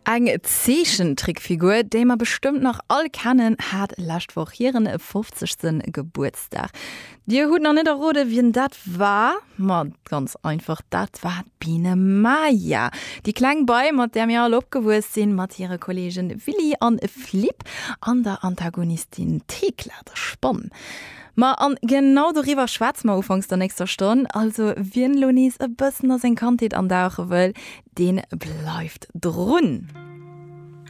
Eng Zeechentrickfigur, déi mer bestëmmt nach all kennen, hat lescht Woch hiren 50. Gebuertsdag. Dir hutt nach net errode wien dat war? Ma ganz einfach, dat war d'Biene Maja, déi kleng Bei, mat där mir all opgewuess sinn, mat hire Kolleegen Willy an Flip an der Antagonistin Thekla, der Spann. Ma an genau doriwwer schwätze mer ufanks der nächster Stonn. Also wien elo nees e bëssen a seng Kandheet andauche wëll, deen bleift drun.